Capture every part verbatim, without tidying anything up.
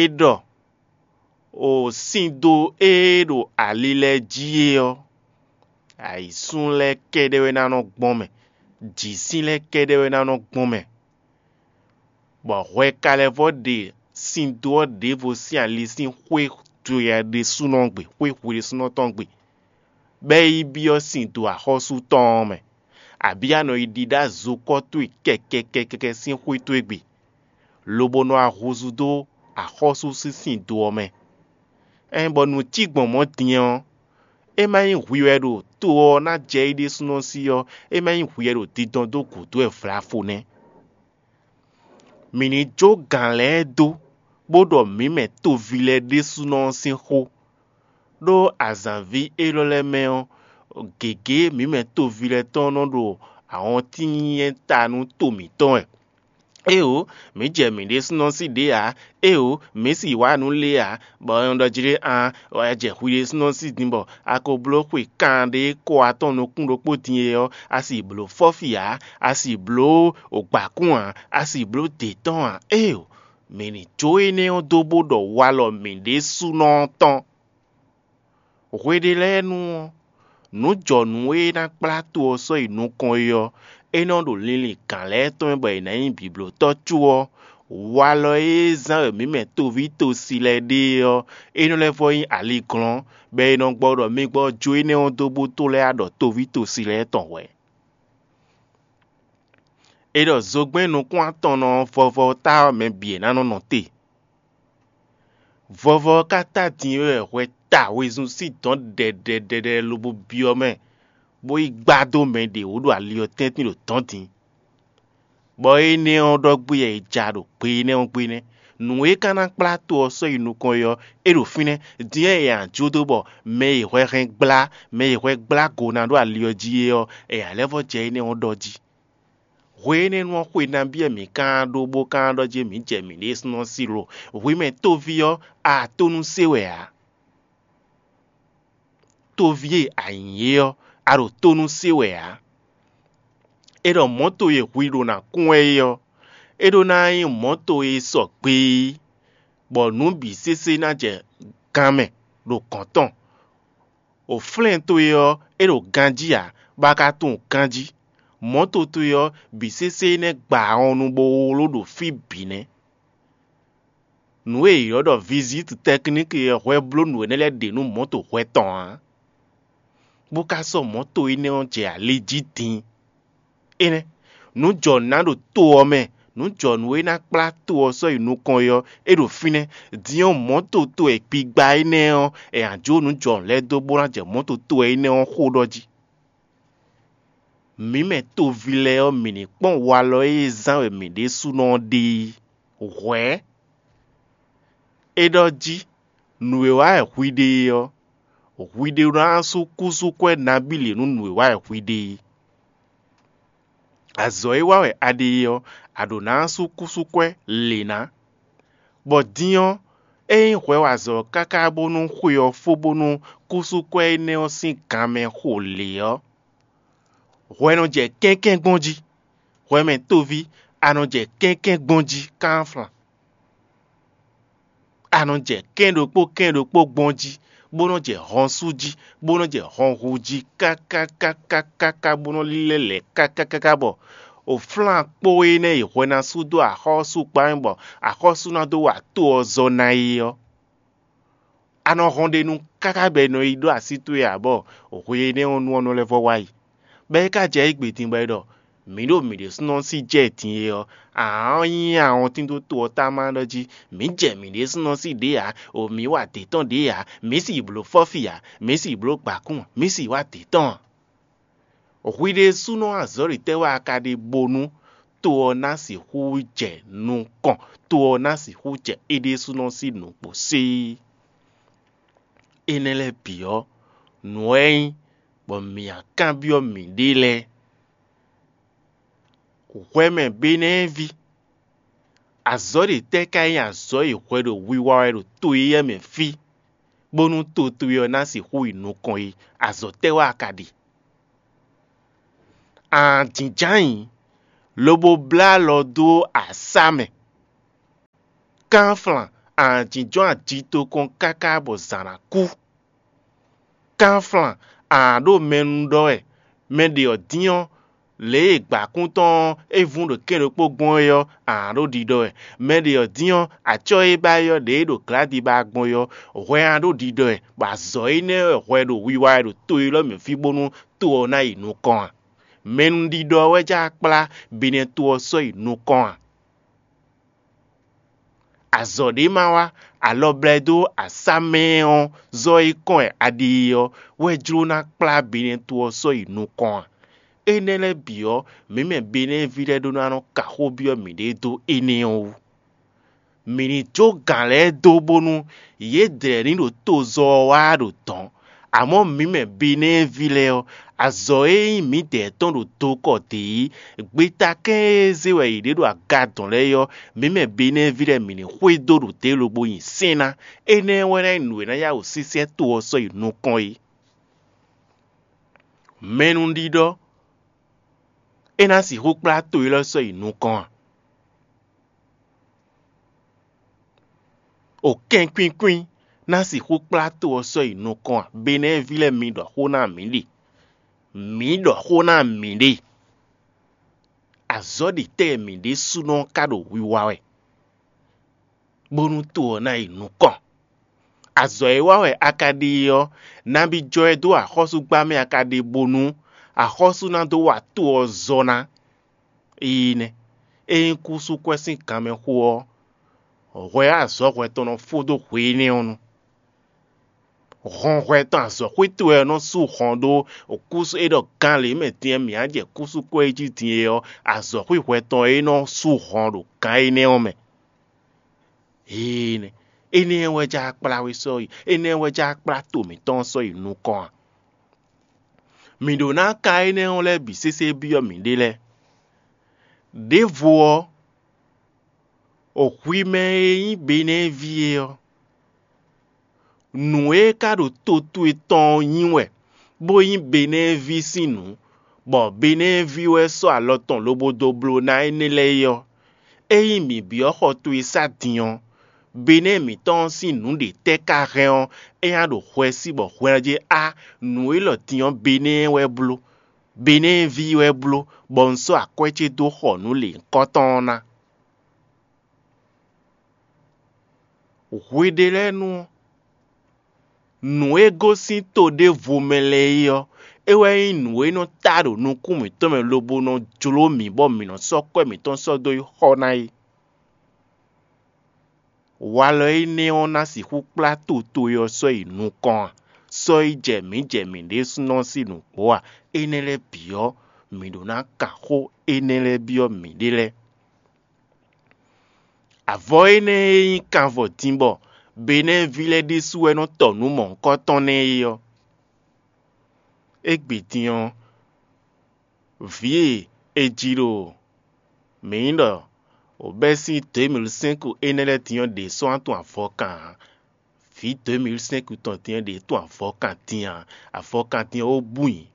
É ɖɔ: “O sín dó e ɖo ali lɛ́ɛ jí é ɔ́, ayǐsún lɛ́ɛ kɛ́ɖɛ́ wɛ ná nɔ gbɔn mɛ, jǐsín lɛ́ɛ kɛ́ɖɛ́ wɛ ná nɔ gbɔn mɛ.” Bɔ hwɛ ka lɛ́ vɔ ɖe sín dó ɔ́ ɖěvo sín ali sín xwé towe ɖésúnɔ gbe, xwé hwe ɖésúnɔ tɔn gbe, bɔ é yi byɔ́ sín dó axɔ́sú tɔn ɔ́ mɛ, abǐ a nɔ yi ɖiɖá zokɔ́ towe kɛkɛkɛkɛkɛ sín xwé towe gbe, lobo nɔ wá húzú dó axɔ́sú sín sín dó ɔ́ mɛ. Ɛn bɔ nǔ cí gbɔn mɔ̌ din ɔ́, é má nyí hwi wɛ ɖo to ɔ́ ná jɛ é ɖésúnɔ sí ɔ́, é má nyí hwi wɛ ɖo dindɔn dó gǔdo wɛ vlafo nɛ́. Mǐ ní jó gǎn lɛ́ɛ dó, bó ɖɔ mǐ mɛ toví lɛ́ɛ ɖésúnɔ ɔ́ sín xó, ɖó azǎnví élɔ́ lɛ́ɛ mɛ ɔ́, gěgé mǐ mɛ toví lɛ́ɛ tɔn nɔ ɖo awɔntín nyínyɛ́ ta nú to mǐtɔn wɛ. Éeǒ, mǐ jɛ mǐ ɖésúnɔ sí ɖě ǎ; éeǒ, mǐ sì wá nǔ lě ǎ, bɔ è nɔ ɖɔ jí ɖé aan, wɛ jɛ hwi ɖésúnɔ sí din bɔ a ko bló xwe kanɖé kɔ atɔn nukún ɖokpó din é ɔ́, a sì bló fɔ́fi ǎ; a sì bló gbǎkún ǎ; a sì bló dě tɔn ǎ. Éeǒ, mǐ ní jó énɛ́ ɔ́ dó bó ɖɔ walɔ mǐ ɖésúnɔ ɔ́ tɔn. Hwe ɖé lɛ́ɛ nu ɔ́, nǔjɔnǔ e ná kplá to ɔ́ sɔ́ yi nukɔn é ɔ́, é nɔ ɖo linlin gǎn lɛ́ɛ tɔn mɛ bɔ è nǎ nyí bǐblótɔ́ có ɔ́, walɔ e zán wɛ mǐ mɛ toví tosi lɛ́ɛ ɖe é ɔ́, é nɔ lɛ́ vɔ nyí aliglɔ́n, bɔ è nɔ gbɔ ɖɔ mi gbɔ jó énɛ́ ɔ́ dó bó tó lɛ́ wá ɖɔ toví tosi lɛ́ɛ tɔn hwɛ̌. È ɖɔ zogbɛ́n nukún atɔnnɔ ɔ́ vɔvɔ ɔ́ ta ɔ́ mɛ bǐ e ná nɔ nɔ te. Vɔvɔ ɔ́ ka ta din wɛ hwɛ ta wezun sín dɔ̌n ɖɛɖɛɖɛɖɛ lobo byɔ́ mɛ, bó yi gbá dó mɛ ɖě wú ɖo ali ɔ́ tɛ́ntin ɖo dɔ̌n din. Bɔ énɛ́ ɔ́ ɖɔ gbé wɛ è ja ɖo gbe énɛ́ ɔ́ gbe nɛ́. Nǔ e ka ná kplá to ɔ́ sɔ́ yi nukɔn é ɔ́, é ɖo fínɛ́. Din ɔ́, è nǎ jó dó bɔ mɛ e hwɛ hɛn gblá, mɛ e hwɛ gblá go ná ɖo ali ɔ́ jí é ɔ́, è nǎ lɛ́ vɔ́ jɛ énɛ́ ɔ́ ɖɔ jí. Hwe énɛ́ nu ɔ́, xwe nabí wɛ mǐ ka ɖó bó ka ɖɔ jí mǐ jɛ mǐɖée súnnu ɔ́ sí lo? Hwi mɛ tóví ɔ́, a to nú sé wɛ ǎ. Tóví e a nyǐ é ɔ́, a ɖo tó nú sé wɛ ǎ. È ɖɔ mɔ̌to e hwi ɖo ná kún wɛ é ɔ́, é ɖó ná nyí mɔ̌to e sɔgbe é, bɔ nǔ bǐ sésé ná jɛ gan mɛ ɖo gɔ̌n tɔn. Wǒflɛ́n towe ɔ́, é ɖo ganjí ǎ, bɔ a ka tunwun ganjí. Mɔ̌to towe ɔ́, bǐ sésé nɛ́ gba ahɔnnu bó wló ɖo fí bǐ nɛ́. Nǔ e è ylɔ́ ɖɔ vizíti tɛkníki ɔ́ hwɛ bló nǔ énɛ́ lɛ́ɛ ɖe nú mɔ̌to hwɛ tɔn ǎ, bó ka sɔ́ mɔ̌to énɛ́ ɔ́ jɛ ali jí din. Énɛ́, nǔ jɔ nǔ ná ɖo to ɔ́ mɛ, nǔ jɔ nǔ e ná kplá to ɔ́ sɔ́ yi nukɔn é ɔ́, é ɖo fínɛ́. Din ɔ́, mɔ̌to to e gbigba énɛ́ ɔ́, è nǎ jó nǔ jɔ nǔ lɛ́ɛ dó bó ná jɛ mɔ̌to to wɛ énɛ́ ɔ́ xó ɖɔ jí. Mǐ mɛ toví lɛ́ɛ ɔ́, mǐ ní kpɔ́n walɔ e zán wɛ mǐ ɖésúnɔ ɔ́ ɖe é. Hwɛ̌, é ɖɔ jí: “Nǔ e wa wɛ hwi ɖe é ɔ́, hwi ɖé ná sú kúsúkwɛ́ nabí lě nú nǔ e wa wɛ hwi ɖe é. Azɔ̌ e wa wɛ a ɖe é ɔ́, a ɖǒ ná sú kúsúkwɛ́ lě ná.” Bɔ din ɔ́, ényí hwɛ wa azɔ̌ káká bónú xwe ɔ́ fó bónú kúsúkwɛ́ énɛ́ ɔ́ sín gan mɛ xo lě ɔ́, hwɛ nɔ jɛ kɛ́nkɛ́n gbɔn jí, hwɛ mɛ tóví, a nɔ jɛ kɛ́nkɛ́n gbɔn jí kánflan. A nɔ jɛ kɛ́n ɖokpó kɛ́n ɖokpó gbɔn jí, bó nɔ jɛ hɔn sú jí, bó nɔ jɛ hɔn hu jí kákákákákáká, bó nɔ lílɛ́ lɛ̌ kákákáká, bɔ wǒflán kpó énɛ́ e hwɛ ná sú dó axɔ́sú kpá mɛ, bɔ axɔ́sú ná dó wa to ɔ́ zɔ ná é ɔ́. A nɔ hɔn ɖe nu káká bɔ è nɔ yi ɖó así towe ǎ, bɔ hwe énɛ́ ɔ́ nu ɔ́ nɔ lɛ́ vɔ wá yi. Bɔ é ka jɛ égbé din bɔ é ɖɔ: “Mǐ ɖo mǐ ɖésúnɔ sí jɛ din é ɔ́, a nǎ nyí awɔntín dó to ɔ́ táma ɖɔ jí: ‘Mǐ jɛ mǐ ɖésúnɔ sí ɖě ǎ; o mǐ wa dě tɔn ɖě ǎ; mǐ sì bló fɔ́fi ǎ; mǐ sì bló gbǎkún ǎ; mǐ sì wa dě tɔn ǎ.’” Hwi ɖésúnɔ azɔ̌ ɖě tɛ́ wɛ a ka ɖe bónú to ɔ́ ná sixú jɛ nukɔn, to ɔ́ ná sixú jɛ é ɖésúnɔ sín nǔgbó séé? Énɛ́ lɛ́ɛ bǐ ɔ́, nǔ wɛ é nyí bɔ mǐ ná kanbyɔ́ mǐɖée lɛ́ɛ. Hwɛ mɛ Benɛ́ɛví, azɔ̌ ɖě tɛ́ ka nyí azɔ̌ e hwɛ ɖo wiwa wɛ ɖo to éyɛ́ mɛ fí, bónú to towe ɔ́ ná sixú yi nukɔn é? Azɔ̌ tɛ́ wɛ a ka ɖe? Aan jǐnján ayǐ, lobo blá alɔ dó asá mɛ. Kánflan, a nǎ jínjɔ́n aji tokɔn káká bɔ zǎn ná kú. Kánflan, a nǎ ɖo mɛ nu ɖɔ wɛ; mɛ ɖě ɔ́ dín ɔ́, lě e gbǎkún tɔn ɔ́ é vún ɖo kɛ́n ɖokpó gbɔn é ɔ́, a nǎ ɖo ɖiɖɔ wɛ. Mɛ ɖě ɔ́ dín ɔ́, acɔ́ e ba é ɔ́ ɖě e ɖo glǎdi ba gbɔn é ɔ́, hwɛ a nǎ ɖo ɖiɖɔ wɛ, bɔ azɔ̌ énɛ́ wɛ hwɛ ɖo wiwa wɛ ɖo to élɔ́ mɛ fí bónú to ɔ́ ná yi nukɔn a? Mɛnúɖiɖɔ ɔ́ wɛ jló ná kplá Benɛ́ to ɔ́ sɔ́ yi nukɔn a? Azɔ̌ ɖé ma wá, alɔ blɛ́ dó asá mɛ ɔ́ zɔ́ e kɔn wɛ a ɖe é ɔ́ wɛ jló ná kplá Benɛ́ to ɔ́ sɔ́ yi nukɔn a? Énɛ́ lɛ́ɛ bǐ ɔ́, mǐ mɛ Benɛ́ ví lɛ́ɛ ɖó ná nɔ ka xó byɔ́ mǐɖée dó énɛ́ ɔ́ wú. Mǐ ní jó gǎn lɛ́ɛ dó bónú yědɛɛ ní ɖo tozɔ ɔ́ wá ɖo dɔ̌n. Amɔ̌ mǐ mɛ Benɛ́ɛví lɛ́ɛ ɔ́, azɔ̌ e nyí mǐdɛɛ tɔn ɖo dokɔ dě é, gbeta kɛ́n e zé wɛ yě ɖe ɖo aga dɔ̌n lɛ́ɛ é ɔ́, mǐ mɛ Benɛ́ɛví lɛ́ɛ mǐ ní xwedó ɖo dě lobo nyi sɛ́n ná. Énɛ́ wɛ ná nyí nǔ e ná yá wǔ sísɛ́ to ɔ́ sɔ́ yi nukɔn é. Mɛnúɖiɖɔ é ná sixú kplá to élɔ́ sɔ́ yi nukɔn a? O kɛnkwínkwín ná sixú kplá to ɔ́ sɔ́ yi nukɔn a? Benɛ́ɛví lɛ́ɛ, mi ɖɔ xó ná mǐ ɖe. Mǐ ɖɔ xó ná mǐ ɖe. Azɔ̌ ɖi tɛ́ mǐ ɖésúnɔ ka ɖo wiwa wɛ, bónú to ɔ́ ná yi nukɔn. Azɔ̌ e wa wɛ a ka ɖe é ɔ́, nabí jɔ ɛ dó axɔ́súgbá mɛ a ka ɖe bónú axɔ́sú ná dó wa to ɔ́ zɔ ná? Éyí nɛ́, ényí kúsú kwɛ́ sín ganmɛ xo ɔ́, hwɛ azɔ̌ hwɛ tɔn nɔ fó dó hwe énɛ́ ɔ́ nu. Hɔn hwɛ tɔn azɔ̌xwí towe ɔ́ nɔ sú hɔn ɖó kúsú e ɖɔ gán lě mɛ din e mǐ á jɛ kúsú kwɛ́ jí din é ɔ́, azɔ̌xwí hwɛ tɔn é nɔ sú hɔn ɖo gán énɛ́ ɔ́ mɛ. Énɛ́, énɛ́ wɛ já kplá we sɔ́ yi, énɛ́ wɛ já kplá to mǐtɔn sɔ́ yi nukɔn a? Mǐ ɖó ná ka énɛ́ ɔ́ lɛ́ɛ bǐ sésé byɔ́ mǐɖée lɛ́ɛ. Đěvo ɔ́, o hwi mɛ e nyí Benɛ́ví é ɔ́, nǔ e ka ɖo to towe tɔn ɔ́ nyí wɛ, bó nyí Benɛ́ví sín nǔ, bɔ Benɛ́ví wɛ sɔ́ alɔ tɔn lobo dó bló ná énɛ́ lɛ́ɛ é ɔ́, ényí mǐ byɔ́ xɔ towe sá din ɔ́, Benɛ́ mǐtɔn ɔ́ sín nǔ ɖě tɛ́ ka hɛn ɔ́, é ná ɖo hwɛ sí bɔ hwɛ ná jɛ á nǔ élɔ́ din ɔ́ Benɛ́ wɛ bló, Benɛ́ví wɛ bló, bɔ un sɔ́ akwɛ́ ce dó xɔ nǔ lěhunkɔtɔn ɔ́ ná. Hwe ɖé lɛ́ɛ nu ɔ́, nǔ e gosín to ɖěvo mɛ lɛ́ɛ é ɔ́, é wɛ nyí nǔ e nɔ ta ɖo nukún mǐtɔn mɛ lobo nɔ jló mǐ bɔ mǐ nɔ sɔ́ kwɛ́ mǐtɔn sɔ́ dó yi xɔ ná é. Walɔ énɛ́ ɔ́ ná sixú kplá to towe ɔ́ sɔ́ yi nukɔn a? Sɔ́ yi jɛ mǐ jɛ mǐ ɖésúnɔ sín nǔgbó a? Énɛ́ lɛ́ɛ bǐ ɔ́, mǐ ɖó ná kan xó énɛ́ lɛ́ɛ byɔ́ mǐɖée lɛ́ɛ. Avɔ énɛ́ e nyí kanvɔ din bɔ Benɛ́ví lɛ́ɛ ɖésú wɛ nɔ tɔ nǔ mɔ̌hunkɔtɔn nɛ́ é ɔ́, égbé din ɔ́, vǐ e è ji ɖo mǐ nyí ɖɔ wǒ bɛ́ sín deux mille cinq énɛ́ lɛ́ɛ din ɔ́ ɖě sɔ́ ná tunwun avɔkan ǎ. Vǐ deux mille cinq tɔn din ɔ́ ɖě tunwun avɔkan din ǎ. Avɔkan din ɔ́ ó bú nyi.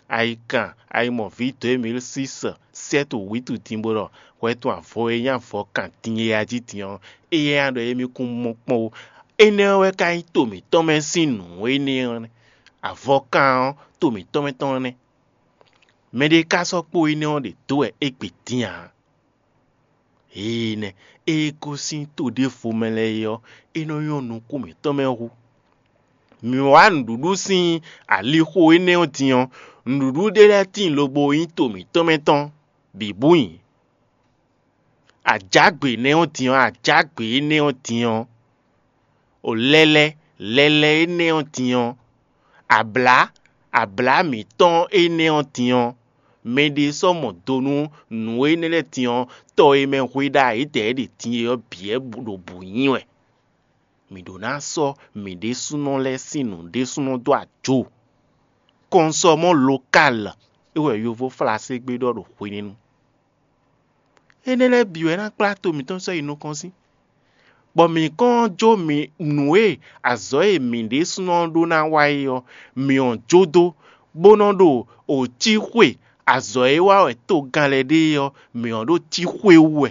Ayikan ayimɔví deux mille six sɛ́ to wǐtu din bó ɖɔ hwɛ tɔn avɔ e nyí avɔkan din e a jí din ɔ́, éyɛ́ ná ɖɔ émí kún mɔ kpɔ́n ó. Énɛ́ ɔ́ wɛ ka nyí to mǐtɔn mɛ sín nǔ énɛ́ ɔ́ nɛ́. Avɔkan ɔ́, to mǐtɔn mɛ tɔn nɛ́. Mɛɖé ka sɔ́ kpó énɛ́ ɔ́ ɖě dó wɛ égbé din ǎ. Énɛ́, ée gosín to ɖěvo mɛ lɛ́ɛ é ɔ́, é nɔ nyɔ́ nukún mǐtɔn mɛ hú. Mǐ wá nǔɖuɖu sín alixo énɛ́ ɔ́ din ɔ́, nǔɖuɖu ɖé lɛ́ɛ tíin lobo nyí to mǐtɔn mɛ tɔn bǐ bú nyi. Ajǎgbe énɛ́ ɔ́ din ɔ́, ajǎgbe énɛ́ ɔ́ din ɔ́, o lɛ́lɛ́, lɛ́lɛ́ énɛ́ ɔ́ din ɔ́, ablǎ, ablǎ mǐtɔn énɛ́ ɔ́ din ɔ́, mɛɖé sɔ́ mɔ do nú nǔ énɛ́ lɛ́ɛ din ɔ́, tɔ e mɛ hwe ɖa yědɛɛ ɖe din é ɔ́ bǐ wɛ ɖo bǔ nyi wɛ. Mǐ ɖó ná sɔ́ mǐ ɖésúnɔ lɛ́ɛ sín nǔ ɖésúnɔ dó ajo. Kɔnsɔmɔ lokal é wɛ yovó Flaségbé ɖɔ ɖo hwenɛ́nu. Énɛ́ lɛ́ɛ bǐ wɛ ná kplá to mǐtɔn sɔ́ yi nukɔn sín, bɔ mǐ kɔn jó mǐ nǔ e azɔ̌ e mǐ ɖésúnɔ ɖó ná wa é ɔ́, mǐ ɔ́ jó dó, bó nɔ́ ɖo wǒ cí xwe azɔ̌ e wa wɛ togán lɛ́ɛ ɖe é ɔ́, mǐ ɔ́ ɖo cí xwe wú wɛ.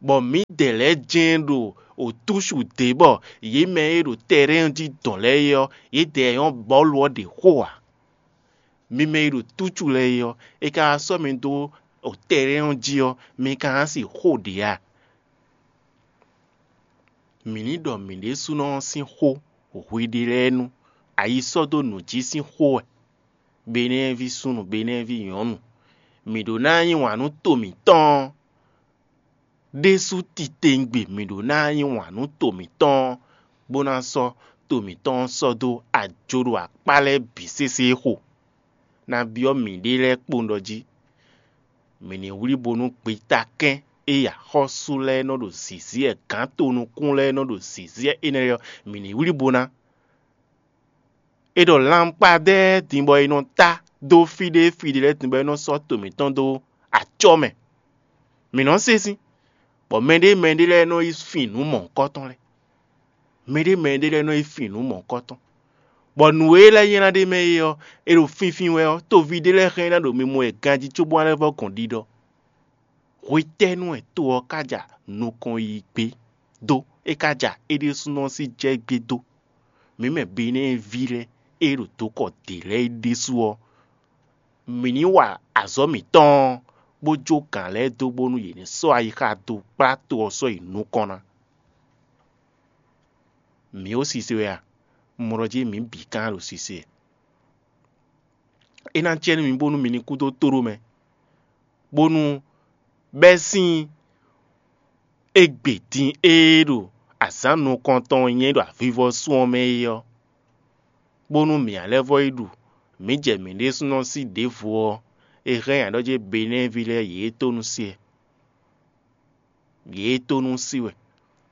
Bɔ mǐdɛɛ lɛ́ɛ jɛ́n ɖo wǒtúsu dě bɔ yě mɛ e ɖo tɛrɛ́n jí dɔn lɛ́ɛ é ɔ́, yědɛɛ nyɔ́ bɔ́lu ɔ́ ɖě xo ǎ. Mi mɛ e ɖo túcu lɛ́ɛ é ɔ́, è ka wá sɔ́ mi dó tɛrɛ́n ɔ́ jí ɔ́, mi ka ná si xó ɖě a? Mǐ ní ɖɔ mǐ ɖésúnɔ ɔ́ sín xó hwiɖée lɛ́ɛ nu, ayi sɔ́ dó nǔ jí sín xó wɛ. Benɛ́ɛví súnnu, Benɛ́ɛví nyɔ̌nu, mǐ ɖó ná yí wǎn nú to mǐtɔn ɔ́ ɖésú titewungbe, mǐ ɖó ná yí wǎn nú to mǐtɔn ɔ́, bó ná sɔ́ to mǐtɔn ɔ́ sɔ́ dó ajo ɖo akpá lɛ́ɛ bǐ sésé xo. Ná byɔ́ mǐɖée lɛ́ɛ kpowun ɖɔ jí: mǐ ní wlí bo nú gbetakɛ́n e axɔ́sú lɛ́ɛ nɔ ɖo zǐzí wɛ, gǎn tonukún lɛ́ɛ nɔ ɖo zǐzí wɛ énɛ́ lɛ́ɛ ɔ́, mǐ ní wlí bo ná. È ɖɔ lankpadɛ́ din bɔ è nɔ tá dó fí ɖé fí ɖé lɛ́ɛ din bɔ é nɔ sɔ́ to mǐtɔn dó acɔ́ mɛ. Mǐ nɔ́ se sín, bɔ mɛɖé mɛɖé lɛ́ɛ nɔ yi fin nǔ mɔ̌hunkɔtɔn lɛ́ɛ. Mɛɖé mɛɖé lɛ́ɛ nɔ yi fin nǔ mɔ̌hunkɔtɔn, bɔ nǔ e lɛ́ɛ nylá ɖ'é mɛ é ɔ́, è ɖo finfin wɛ ɔ́, toví ɖé lɛ́ɛ hɛn ná ɖo mimɔ wɛ ganjí cóbó ná lɛ́ vɔ́ gɔn ɖiɖɔ. Hwetɛ́nu wɛ to ɔ́ ka ja nukɔn yi gbé dó? É ka ja é ɖésúnɔ sín jɛ gbé dó. Mǐ mɛ Benɛ́ɛví lɛ́ɛ e ɖo dokɔ dě lɛ́ɛ é ɖésú ɔ́, mǐ ní wa azɔ̌ mǐtɔn ɔ́, bó jó gǎn lɛ́ɛ dó bónú yě ní sɔ́ ayixa dó kplá to ɔ́ sɔ́ yi nukɔn ná. Mǐ ó sise wɛ a? Un mɔ ɖɔ jí mǐ bǐ ka ɖo sise wɛ. É ná jɛ nú mi bónú mi ní kú dó tóɖó mɛ, bónú bɛ́ sín égbé din e ɖo azǎn nukɔntɔn nyɛ ɖo avivɔsú ɔ́ mɛ é ɔ́, bónú mǐ ná lɛ́ vɔ́ yi ɖu, mǐ jɛ mǐ ɖésúnɔ sí ɖěvo ɔ́, è hɛn nyi aɖɔ́ jí Benɛ́ɛví lɛ́ɛ yě tó nú se. Yě tó nú sí wɛ,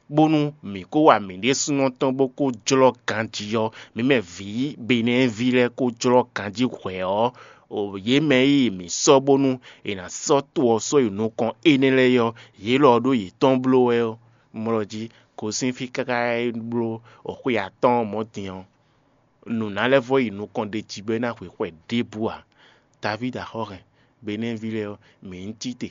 bónú mǐ kó wa mǐ ɖésúnɔ tɔn bó kó jlɔ́ ganjí ɔ́, mǐ mɛ vǐ Benɛ́ɛví lɛ́ɛ kó jlɔ́ ganjí hwɛ̌ ɔ́, yě mɛ e mǐ sɔ́ bónú è nǎ sɔ́ to ɔ́ sɔ́ yi nukɔn énɛ́ lɛ́ɛ ɔ́, yě lɔ ɔ́ ɖó yětɔn bló wɛ ɔ́, mlɔ jí gosín fí káká yi bló xwe atɔ́ɔ́n mɔ̌ din ɔ́, nǔ ná lɛ́ vɔ́ yi nukɔn ɖ'é jí bɔ é ná hwe xwɛ ɖěbǔ ǎ. Davídi axɔ́ hɛn, Benɛ́ɛví lɛ́ɛ ɔ́, mǐ ní cí te.